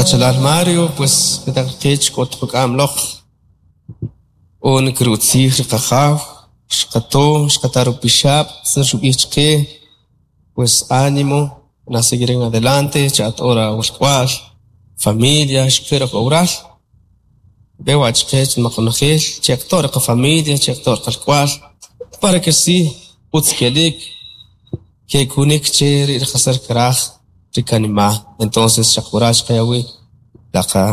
Qachalal Mario, pues petaq qech k'ot quk'am loq on kirutzij ri qajaw, xqato, xqata rupixab', tzir xub'ij chqe, pues ánimo, na seguir en adelante, cha'at ora walk'wa'l, familia, xqe roj oral. Veo a chqech maqonojel, cheqto' ri qafamilia, cheqto' ri qalk'wa'l, para que si utz kelik, kekunik che ri qasar kraj ri kanima'. Entonces xaq waral xqayawi la qa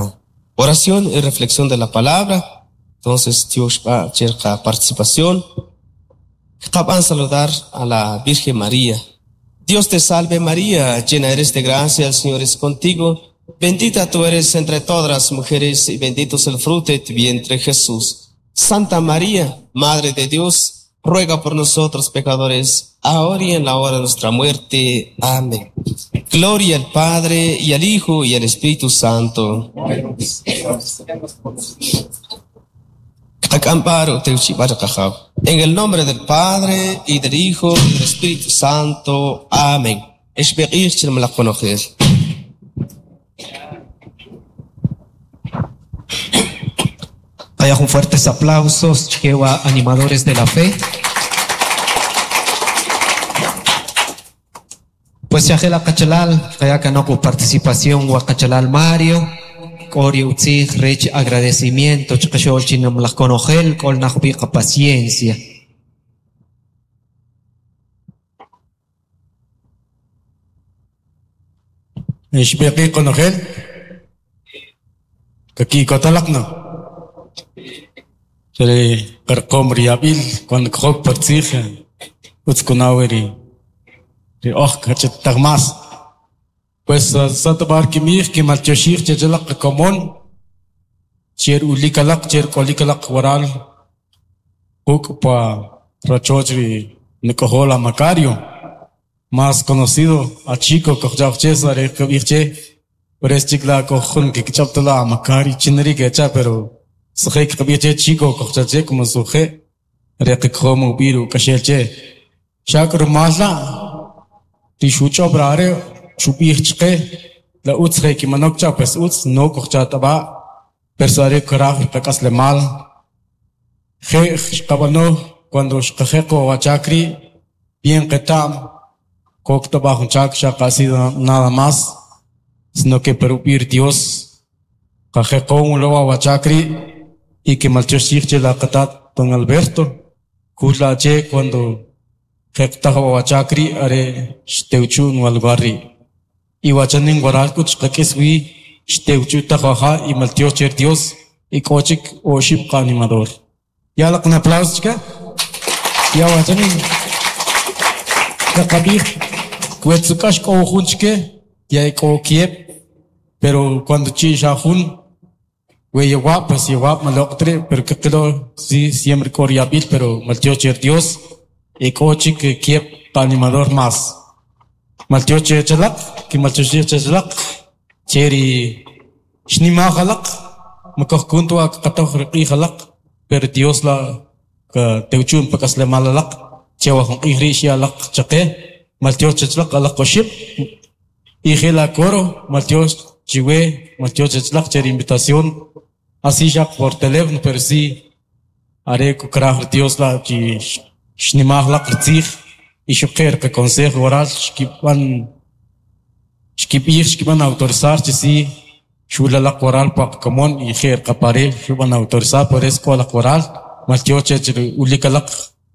oración y reflexión de la palabra. Entonces tiox b'a che qa participación. Qaqab'an saludar a la Virgen María. Dios te salve María, llena eres de gracia, el Señor es contigo. Bendita tú eres entre todas las mujeres y bendito es el fruto de tu vientre Jesús. Santa María, Madre de Dios, ruega por nosotros pecadores, ahora y en la hora de nuestra muerte. Amén. Gloria al Padre y al Hijo y al Espíritu Santo. En el nombre del Padre y del Hijo y del Espíritu Santo. Amén. Vaya con fuertes aplausos, Jehová, animadores de la fe. Pues ya Kachalal, kaya kanoko participación wa Kachalal Mario, Kori utzij rech agradecimiento, chakashol chinam laj konojel, kol najbiqa paciencia. Ixbiqi konojel, kakikotalaqna. Ri qarqom riyabil cuando kjok partzij utzkunawi ri ri oj kachettaj mas. Pues satabar kimij kimaltioxij chechelaq komon cher ulikalaq cher k'olikalaq waral juk' pa rachoch ri nik'ojola Macario, más conocido a Chico kojchaj che sare kb'ij che, pero es chik la kojjun kikch'ab'tala a Macari chinri kecha, pero sje kb'ij che Chico kojchaj che como suje re kikjom ub'ir uk'axel che. Xak rumal la ri xuch'ob rare xub'ij chqe la utz je kimanok cha pues utz no kojcha tab'a pero sare kraj qak'aslemal je xqab'ano cuando xqajeqo wachakri bien qetam kok tab'a jun chak xaq así nada más, sino que perub'ir Dios qajeqo un lo wachakri y que maltioxij che la qatat don Alberto kula che cuando jeqtaj wachakri are xtewchun walgarri y wachanin waral kut xqak'is wi xtewchu tajaja y maltiox cher Dios y k'ochik oxib qanimador. Ya la un aplauso chica. Ya wachanin qaqab'ij kwetzukax k'o jun chike ya k'o kieb, pero cuando chi xa jun we yewab pues yewab maloqtre, pero que quedó sí siempre k'o riyabil, pero maltiox cher Dios y k'ochik kieb qanimador más. Maltiox chechalaq ki maltiox chechalaq cheri xnima jalaq makojkuntu qatoj riq'ij jalaq, pero Dios la ka tewchun pak'aslemal alaq chewa jun q'ij rii' xya'laq chaqe maltiox chechalaq alaq oxib y je la coro maltiox chiwe maltiox chechalaq che ri invitación así xaq por teléfono, pero sí are kukraj Dios la chi xnimaj laq ritzij y xuqe' ri consejo oral xkib'an xkib'ij xkib'an autorizar chi sí xulalaq waral paq komon y je' qapare xub'an autorizar, por eso k'o laq waral maltiox chech ri ulikalaq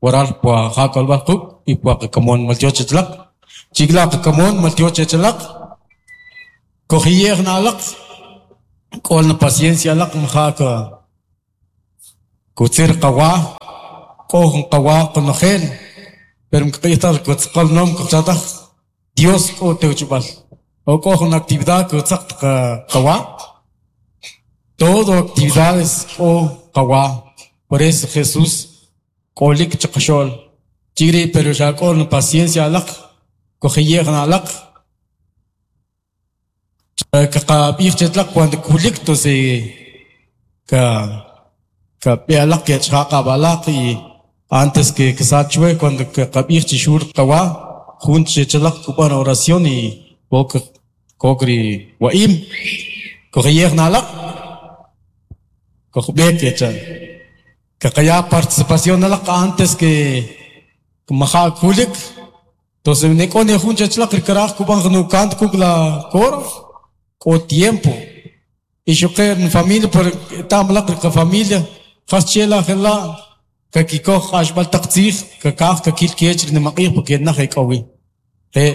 waral pua ja k'olb'al quk' y pua qakomon maltiox chechlaq chikla qakomon maltiox chechlaq kojiye'j na'laq k'ol na paciencia laq maja ka kutzir qawa k'o jun qawa qonojel, pero mkq'ijtaj kutzqal nom kojchataj Dios k'o tewchub'al o k'o jun actividad kutzaq qawa todo actividades k'o qawa, por eso Jesús k'olik chaqaxo'l chiri, pero xa k'o na paciencia alaq kojiye'j na'laq kaqab'ij chetlaq cuando kulik entonces ka ka b'e'alaq kech'aqab'alaq y antes que ksachwe cuando kaqab'ij chi xur qawa jun chechalaq kub'an oración y kok kok ri wa'im Kojiyej nalaq kojb'ek kecha kaqaya participación nalaq antes que maja' kulik. Entonces nek'o ne jun chachlaq rikaraj kub'an nukant kuk la coro k'o tiempo. Y xuqe en familia por tamlaq riqa familia jas chela jela kakikoj q'axb'al taq tzij kakaj kakil kech rinimaq'ij porque naj ek'owi. Re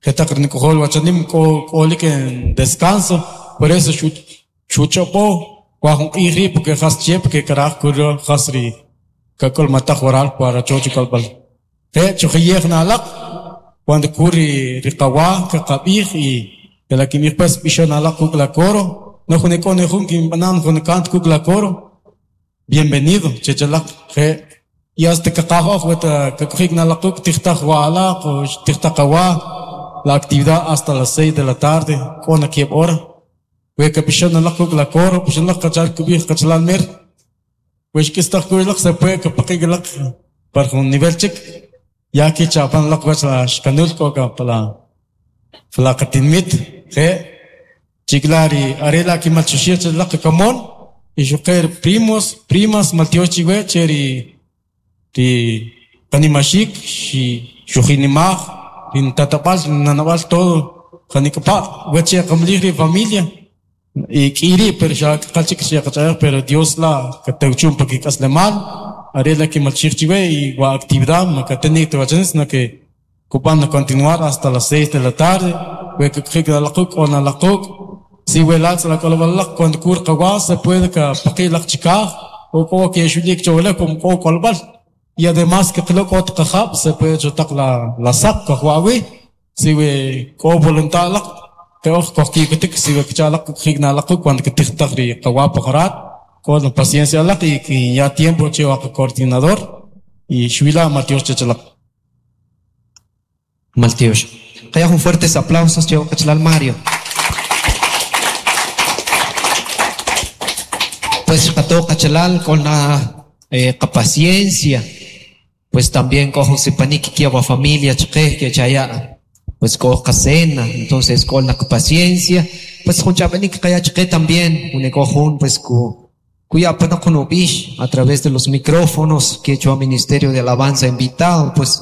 jetaq rinik'ojol wachanim k'o k'olik en descanso, por eso xuch'ob'o wa jun q'ij rii' porque jas che porque karaj kuro jas ri kak'ulmataj waral pa rachoch k'olb'al. Re chujiyej nalaq cuando kuri riqawa kaqab'ij y la kimij pues b'ixon nalaq kuk la coro no jun ek'o ne jun kinb'anan jun kant kuk la coro bienvenido chechalaq je y hasta kaqaj oj weta kak'ojik nalaq kuk tijtaj wa'alaq o tijtaj qawa la actividad hasta las 6 de la tarde k'o na kieb' hora we kab'ixon nalaq kuk la coro b'ixon laq qachal kub'ij qachalal mer we xk'istaj kuylaq se puede kapaqik laq par jun nivel chik ya que chapan laq wach la xkanul k'o ka pala pala qatinmit je chiklari arela kimalchuxij che laq kamon y xuqer primos primas maltiox chiwe che ri ri qanimaxik xi xujinimaj rin tatab'al nanab'al todo janik'pa wache qamlij ri familia y k'iri pero xa qal chik xa qach'ayaj pero Dios la katewchum pa kik'aslemal arela kimalchij chiwe y wa actividad makateni tewachanis no que kupan continuar hasta las 6 de la tarde we kikjik laquk o nalaquk si we latz la k'olb'al cuando kur qawa se puede ka paqi laq chikaj o k'o ke xulik chowle kum k'o k'olb'al y además que qlo k'o tqajab' se puede chotaq la la saq kajwawi si we k'o voluntad laq que oj kojkikutik si we kchalaq kjik nalaquk cuando kitijtaj ri qawa pajarat con paciencia laq y que ya tiempo che wa coordinador y xuila Mateo chechalaq. Maltiox. Qaya jun fuertes aplausos che qachalal Mario. Pues qato qachalal con la paciencia, pues también cojo sipanik que wa familia chqe que chaya pues cojo cena, entonces con la paciencia, pues jun chapanik qaya chqe también un cojun pues ku kuya pana kunubish a través de los micrófonos que hecho a Ministerio de Alabanza invitado, pues